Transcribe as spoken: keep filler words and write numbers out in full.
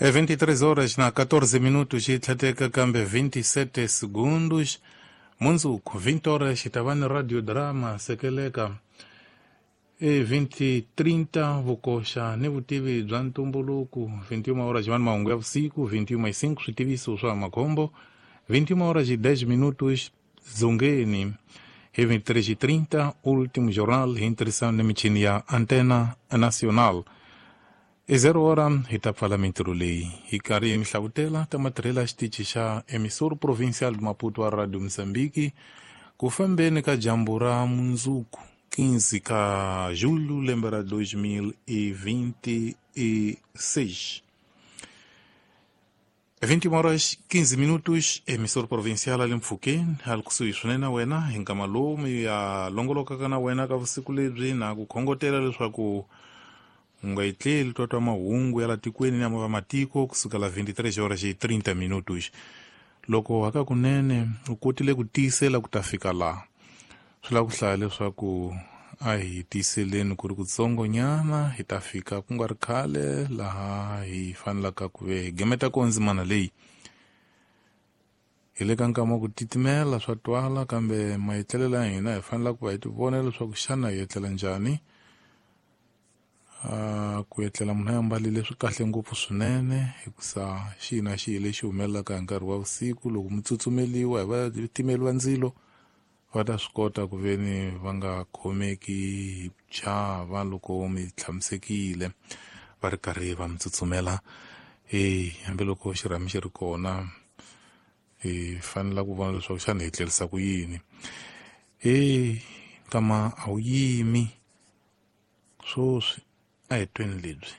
É vinte e três horas na catorze minutos e tlhateka kambe vinte e sete segundos. Mundzuku vinte horas hi ta va ni radio drama sekeleka. E vinte trinta vukoxa ni vutivi bya ntumbuluko. Vinte e uma horas va ni mahungu ya vusiku, vinte e uma e cinco switiviso swa makhombo, vinte e uma horas e dez minutos dzongeni. Hi vinte e três e trinta último jornal hi ntirhisano ni michini ya Antena Nacional. E zero hora hi ta pfala mintirho leyi hi karhi hi mi hlavutela ta matirhelo ya xitichi xa Emissor Provincial de Maputo wa Radio Mozambique ku fambeni ka dyambu ra mundzuku quinze ka julho lembe ra dois mil e vinte e seis. vinte e uma horas quinze minutos, Emissor Provincial ali mpfhukeni ali kusuhi swinene na wena hi nkama lowu mi ya longolokaka na wena ka vusiku lebyi na ku khongotela leswaku u nga yi tleli twa twa mahungu ya la tikweni ni ya vamatiko kusukela vinte e três horas e trinta minutos. Loko hakakunene u kotile ku tiyisela ku ta fika laha, swi lava ku hlaya leswaku a hi tiyiseleni ku ri kutsongonyana hi ta fika ku nga ri khale laha hi fanelaka ku ve hi gemeta ko ndzimana leyi. Hi le ka nkama wa ku titimela swa twala, kambe maetlelela ya hina hi fanela ku va hi ti vona leswaku xana hi etlela njhani. Uh, ku etlela munhu a ambarile swi kahle ngopfu swinene hikusa xihi na xihi lexi humelelaka hi nkarhi wa vusiku loko mi tsutsumeliwa hi vatimeli va ndzilo va ta swi kota ku ve ni va nga khomeki hi ku chava loko mi tshamisekile va ri karhi va mi tsutsumela. E hambiloko xirhami xi ri kona hi fanela ku vona leswaku xana hi tlerisa ku yini. E nkama a wu yimi swoswi a hi tweni lebyi.